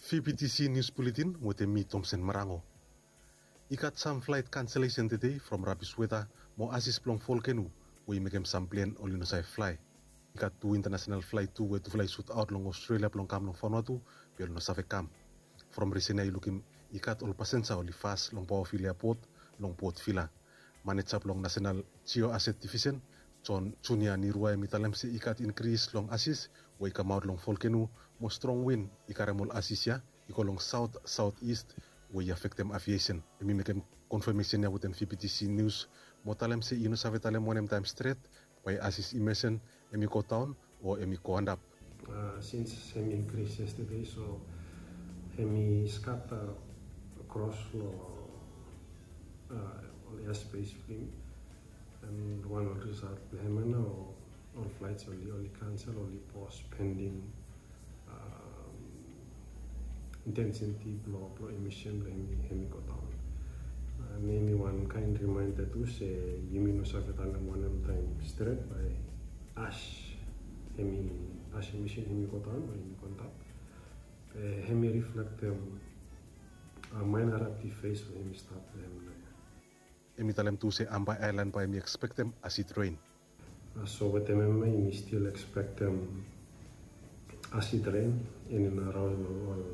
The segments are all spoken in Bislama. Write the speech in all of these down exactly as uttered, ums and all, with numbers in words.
Fibitisi nius buletin wetem mi, Tomsen Marango. I gat sam flaet kanselesen tede from rabis weta mo asis blong volkeno we i mekem sam plen oli no save flae. I gat tu intanasenal flaet tu we tufala i sutaot long Australia blong kam long Vanuatu, be oli no save kam. From risen ya i lukim i gat ol pasenja oli fas long Bougainville Airport long Port Vila. Maneja blong Nasenal Jioaset Divisen, John Junior Nirua, hem i talem se i gat inkris long asis we i kamaot long volkeno mo strong win i karem ol asis ya i go long saot saot ist we i afektem aviesen. Hem i mekem konfamesen ya wetem Fibitisi nius mo talem se i no save talem wanem taem stret bae asis i mesen hem i godaon o hem i go antap. Sins hem i inkris yestade, so hem i skata kros long ol airspace blong yumi. And wan ol risalt blong hem ya nao, ol flaets oli oli kansel, oli pos pending intensiti blong blong emisen blong hem i godaon. And hem i wan kaen rimaenda tu se yumi no save talem wanem taem stret bae as hem i as emisen hem i godaon o hem i go antap. Be hem i riflektem maenarapti fes we hem i stap long hem naoia. Hem i talem tu se Ambae aelan bae hem i ekspektem asid ren. So wetem hem ya yumi stil ekspektem asid ren in and araon long ol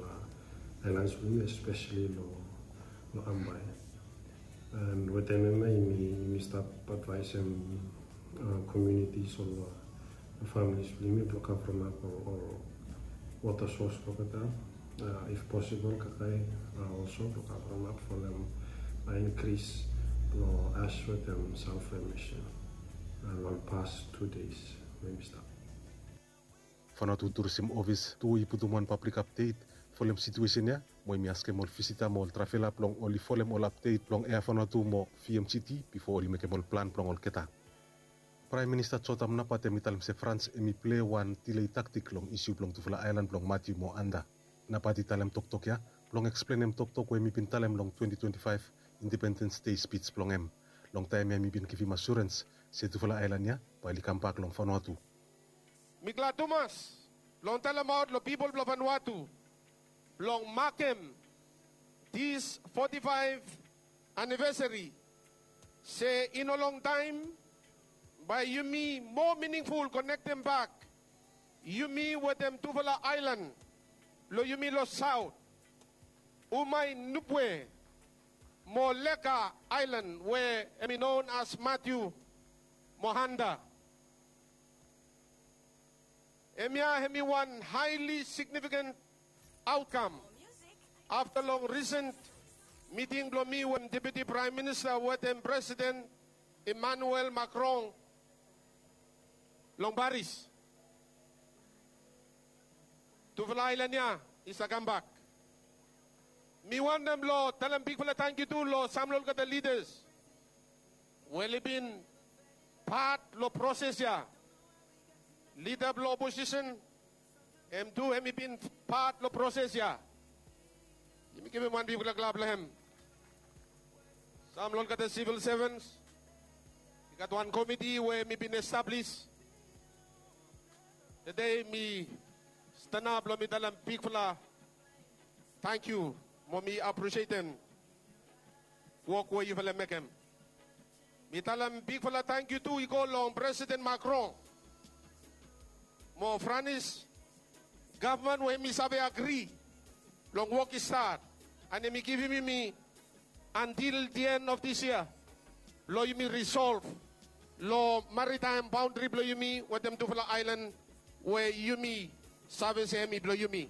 aelans blong yumi, espeseli long Ambae. And wetem hem ya yumi stap advaesem komunitis, ol familis blong yumi blong kavremap ol wota sos blong olgeta, if posibol kakae olso blong kavremap folem inkris blong as wetem salfa emisen long pas tu deis we yumi stap. Vanuatu Tourism Office tu i putum wan pablik apdet folem situesen ya, mo yumi askem ol visita mo ol travela blong oli folem ol apdet blong Air Vanuatu mo VMGT bifo oli mekem ol plan blong olgeta. Praem Minista Jotam Napat hem i talem se Frans hem i plei wan dilei taktik long isiu blong tufala aelan blong Matiu mo Anda. Napat i talem toktok ya blong eksplenem toktok we hem i bin talem long twenti twenti faef Independens Dei spij blong hem. Long taem ya hem i bin givim asurens se tufala aelan ya bae oli kambak long Vanuatu. Mi glad tumas blong talemaot long pipol blong Vanuatu blong makem dis foti faef anivesari se i no longtaem bae yumi moa miningful konektem bak yumi wetem tufala aelan blong yumi long saot, Umai, Nubwe mo Leka aelan we hem i non as Matiu mo Anda. Hemia hem i wan haeli signifiken aotkam afta long risen miting blong mi wetem Deputi Praem Minista wetem Presiden Emmanuel Macron long Paris. Tufala aelan ya i save kambak. Mi wantem blong talem bigfala tangkiu tu long sam long olgeta lidas we oli bin pat long proses ya. Lida blong oposisen hem tu hem i bin pat long proses ya. Yumi givim wan bigfala klap long hem. Sam long olgeta sivil sevens, i gat wan komiti we hem i bin establis. Tede mi stanap blong mi talem bigfala tangkiu mo mi apresietem wok we yufala mekem. Mi talem bigfala tangkiu tu i go long Presiden Macron mo Franis gavman we hem i save agri blong wok i stat, and hem i givim yumi antil di en of dis yia blong yumi risolv long maritaem baondri blong yumi wetem tufala aelan we yumi save se hem i blong yumi.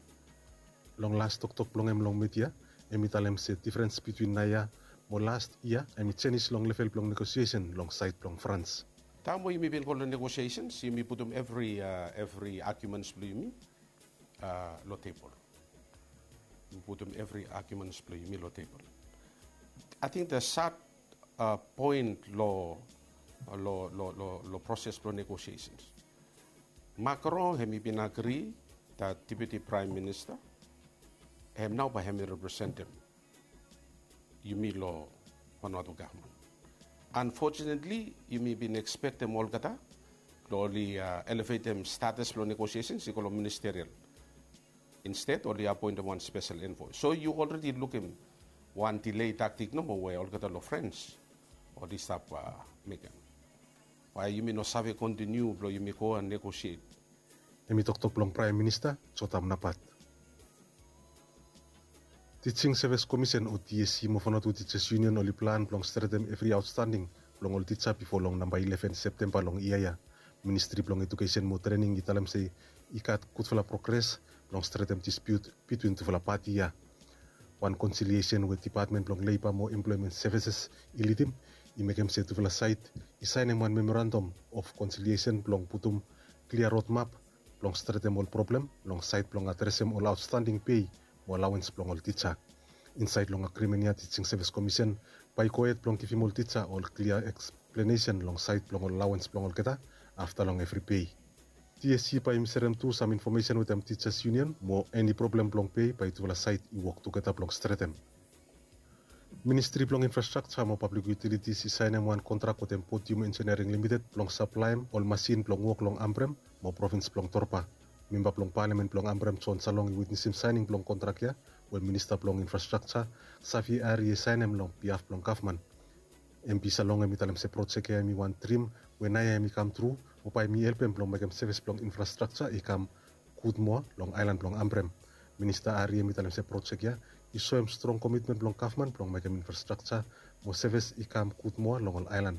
Long las toktok blong hem long midia, hem i talem se difrens bitwin naoia mo las yia hem i jenis long level blong negosiesen long saed blong Frans. Taem we yumi bin go long negosiesens, yumi putum evri, evri agiumens blong yumi long tebol. Yumi putum evri agiumens blong yumi long tebol. Ating the sad poen long, long, long, long proses blong negosiesens, Macron hem i bin agri that Deputi Praem Minista hem nao bae hem i representem yumi long Vanuatu gavman. Unfortunately yumi bin ekspektem olgeta blong oli elevetem status blong negosiesens i go long ministerial. Insted oli apoentem wan spesel envoe. So yu olredi lukim wan delay taktik nomo we olgeta long Frens oli stap mekem. Bae yumi no save kontiniu blong yumi go negosiet. Hem i toktok blong Praem Minista Jotam Napat. Teaching Service Commission o TSC mo Vanuatu Teachers Union oli plan blong stretem evri aotstanding blong ol tija bifo long namba ileven Septemba long yia ya. Ministri blong Ejukesen mo Trening i talem se i gat gudfala progres blong stretem dispiut bitwin tufala pati ya. Wan konsiliesen we Depatmen blong Leiba mo Emploemen Sevises i lidim i mekem se tufala saed i saenem wan memorandam of konsiliesen blong putum klia rodmap blong stretem ol problem long saed blong adresem ol aotstanding pei mo alaoens blong ol tija. Insaed long agrimen ya Teaching Service Commission bae i gohed blong givim ol tija ol klia eksplenesen long saed blong ol alaoens blong olgeta afta long evri pei. TSC bae i serem tu sam infomesen wetem Teachers Union mo eni problem blong pei bae tufala saed i wok tugeta blong stretem. Ministri blong Infrastrakja mo Pablik Yutilitis i saenem wan kontrak wetem Podium Engineering Limited blong saplaem ol masin blong wok long Ambrem mo provins blong Torba. Memba blong Palamen blong Ambrem John Salong i witnesim saening blong kontrak ya we Minista blong Infrastrakja Xavier Arrie i saenem long bihaf blong gavman. MP Salong hem i talem se projek ya hem i wan drim we naoia hem i kam tru mo bae hem i helpem blong mekem sevis blong infrastrakja i kam gud moa long aelan blong Ambrem. Minista Arrie hem i talem se projek ya i soem strong komitmen blong gavman blong mekem infrastrakja mo sevis i kam gud moa long ol aelan.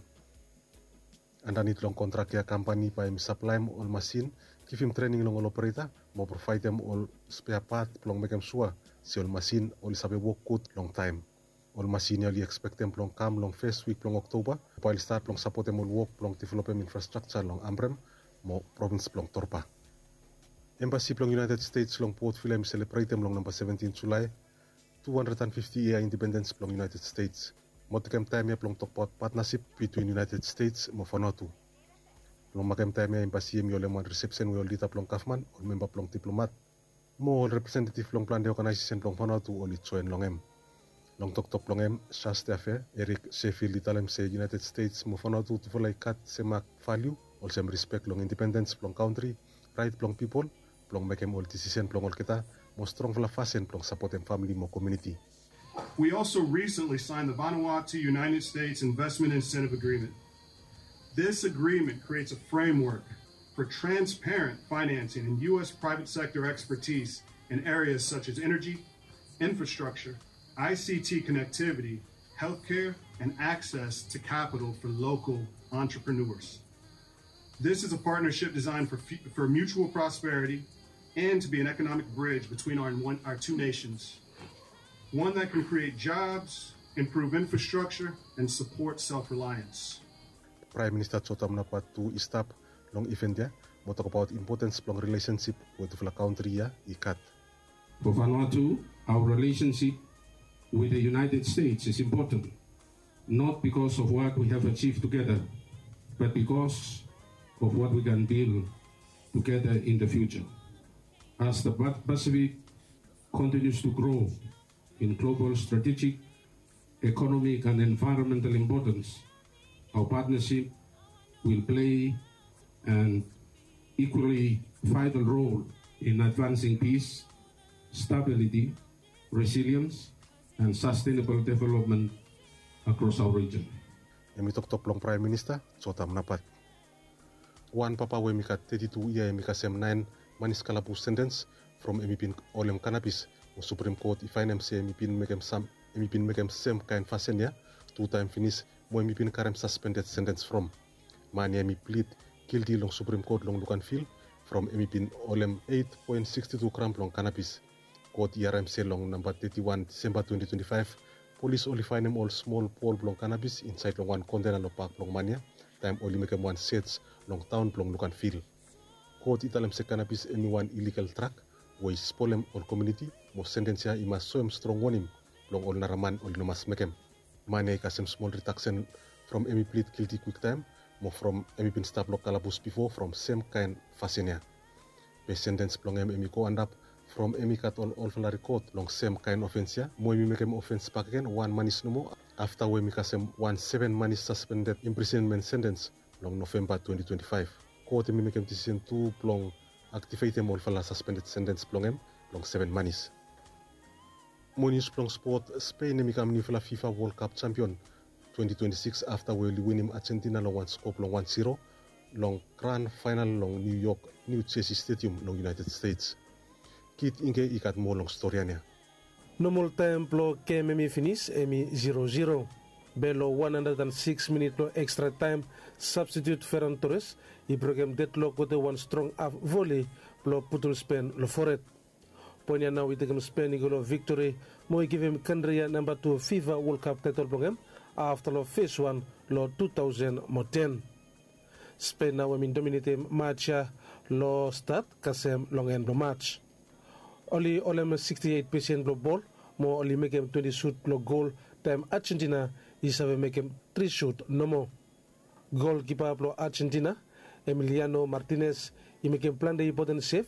Andanit long kontrak ya kampani bae hem i saplaem ol masin, givim trening long ol opereta mo provaedem ol spea pat blong mekem sua se ol masin oli save wok gud long taem. Ol masin ya oli ekspektem blong kam long fes wik blong Oktoba mo bae oli stat blong sapotem ol wok blong developem infrastrakja long Ambrem mo provins blong Torba. Embasi blong United States long Port Vila hem i selebretem long namba seventin Julae tu handred an fifti yia indipendens blong United States. Mo tekem taem ya blong tokbaot patnasip bitwin United States mo Vanuatu. Long makem taem ya embasi hem i holem wan risepsen we ol lida blong gavman, ol memba blong diplomat mo ol representetiv blong plante oganaesesen blong Vanuatu oli joen long hem. Long toktok blong hem, Charge d'Affaires Eric Sheffield i talem se United States mo Vanuatu tufala i gat semak valiu olsem rispek long indipendens blong kantri, raet blong pipol blong mekem ol disisen blong olgeta mo strongfala fasin blong sapotem famili mo komuniti. We also recently signed the Vanuatu United States Investment Incentive Agreement. This agreement creates a framework for transparent financing and U S private sector expertise in areas such as energy, infrastructure, I C T connectivity, healthcare, and access to capital for local entrepreneurs. This is a partnership designed for, fu- for mutual prosperity and to be an economic bridge between our, one, our two nations. One that can create jobs, improve infrastructure, and support self reliance. Praem Minista Jotam Napat tu i stap long iven ya mo tokbaot impotens blong rilesensip we tufala kantri ya i gat. For Vanuatu, our relationship with the United States is important, not because of what we have achieved together, but because of what we can build together in the future. As the Pa- Pacific continues to grow in global strategic, economic, and environmental importance, our partnership will play an equally vital role in advancing peace, stability, resilience, and sustainable development across our region. Hem i toktok blong Praem Minista Jotam Napat. Wan papa we hem i gat teti tu yia hem i kasem naen manis kalabus sentens from hem i bin holem kanabis, mo Suprem Kot i faenem se hem i bin mekem sam hem i bin mekem sem kaen fasin ya tu taem finis mo hem i bin karem saspended sentens from. Man ya hem i plid gilti long Suprem Kot long Luganville from hem i bin holem eit poen siksti tu gram blong kanabis. Kot i harem se long namba teti wan Disemba twenti twenti faef, polis oli faenem ol smol bol blong kanabis insaed long wan kontena long bak blong man ya taem oli mekem wan sej long taon blong Luganville. Kot i talem se kanabis hem i wan iligal drag we i spolem ol komuniti, mo sentens ya i mas soem strong wonim blong ol nara man oli no mas mekem. Man ya i kasem smol ridaksen from hem i plid gilti kwiktaem mo from hem i bin stap long kalabus bifo from sem kaen fasin ya. Be sentens blong hem hem i go antap from hem i gat ol olfala rikod long sem kaen ofens ya mo hem i mekem ofens bakegen wan manis nomo afta we hem i kasem wan seven manis saspended imprisenmen sentens long Novemba twenti twenti faef. Kot hem i mekem disisen tu blong aktivetem olfala saspended sentens blong hem long seven manis. Mo nius blong spot, Spain hem i kam niufala fifa World Cup champion twenty twenty-six afta we oli winim Argentina long wan skop long wan zero long gran fainal long New York, New Jersey Stadium long United States. Kit Ingke i gat moa long storian ya. Nomol taem blong gem hem i finis hem i zero zero. Be long wan handred an sikis minit blong ekstra taem, sabstitiut Ferran Torres i brokem dedlok wetem wan strong haf voli blong putum Spen long fored. Poen ya nao i tekem Spen i go long viktori mo i givim kantri ya namba tu fifa World Cup taetol blong hem afta long fes wan long tu taosen mo ten. Spen nao hem i dominetem maj ya long stat kasem long en blong maj. Oli holem siksti eit pesen blong bol mo oli mekem twenti sut blong gol, taem Argentina i save mekem tri sut nomo. Golkipa blong Argentina, Emiliano Martinez, i mekem plante impoten sev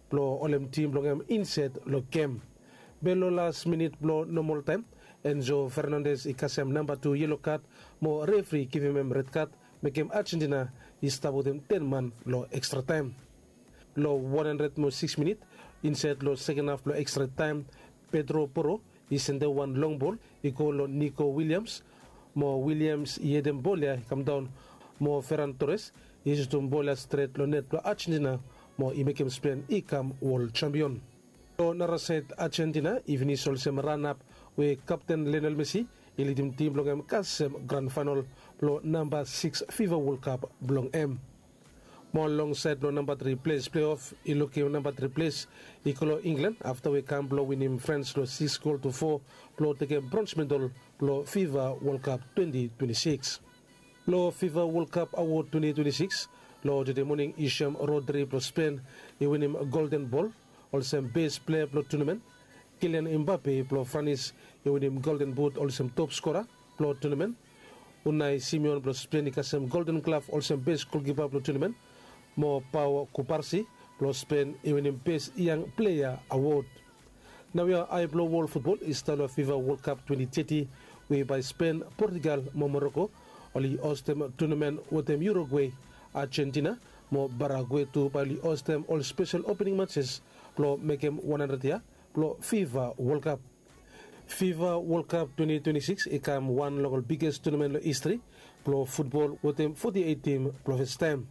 blong holem tim blong hem insaed long gem. Be long las minit blong nomol taem, Enzo Fernandes i kasem namba tu yelo kad mo refri i givim hem red kad, mekem Argentina i stap wetem ten man long ekstra taem. Long wan handred mo sikis minit, insaed long seken haf blong ekstra taem, Pedro Porro i sendem wan long bol i go long Nico Williams, mo Williams i hedem bol ya i kamdaon, mo Ferran Torres i sutum bol ya stret long net blong Argentina, mo i mekem Spen i kam wol jampion. Long narasaed, Argentina i finis olsem ranap we kapten Lionel Messi i lidim tim blong hem kasem gran faenol blong namba sikis fifa World Cup blong hem. Mo long saed blong namba tri ples pleof, i lukim namba tri ples i go long Inglan afta we kam blong winim Frans long sikis gol tu fo blong tekem brons medal blong fifa World Cup twenti twenti sikis. Long fifa World Cup awod twenti twenti sikis, long tede moning i soem Rodri blong Spen i winim Golden Bol olsem bes plea blong tunamen, Kilian Mbape blong Franis i winim Golden But olsem top skora blong tunamen, Unai Simeon blong Spen i kasem Golden Glaf olsem bes golkipa blong tunamen, mo Pau Kubarsi blong Spen i winim bes yang plea awod. Naoia ae blong wol futbol i stap long fifa World Cup twenti teti, we bae Spen, Portugal mo Moroko oli hostem tunamen wetem Urugwe, Argentina mo Paragwe tu bae oli hostem ol spesel opening matses blong mekem wan handred yia blong fifa World Cup. Fifa World Cup twenti twenti sikis i kam wan long ol biges tunamen long histri blong futbol wetem foti eit tim blong fastaem.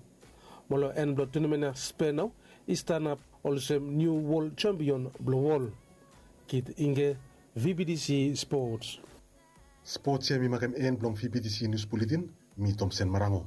Mo long en blong tunamen ya Spen nao i stanap olsem niu wol jampion blong wol. Kit Ingke, V B T C Sports. Sports ya mi makem en blong V B T C News Bulletin. Mi Tomsen Marango.